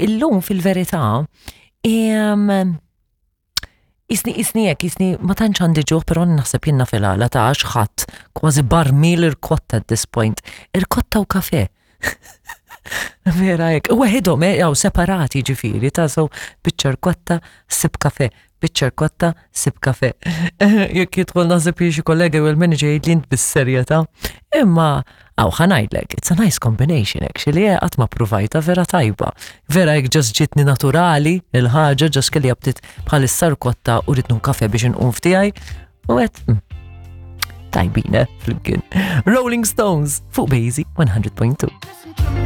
Illum fil-verità, Isni isni hekk, isni ma tantx għandi ġuħ, però naħseb jiena fil-għala ta' għax ħadd kważi barmil irkotta at this point. Irkotta u kafe. Vera hekk. Weħidhom eh, jew separati ġifieri ta' so biċċa rkotta, sib kafe, biċċa rkotta, sib kafe. Jekk jidħol naħseb xi kollega jew il-manager jgħid li int bis-serjetà. Imma Aw, ħa ngħidlek, it's a nice combination actually, eh, qatt ma provajta vera tajba. Vera jekk ġas ġitni naturali il-ħaġa ġas kelli aptit bħalissa rkotta u rrid kafe biex inqum ftiegħi u għedt tajbin, eh, flimkien. Rolling Stones fuq Bazy 100.2.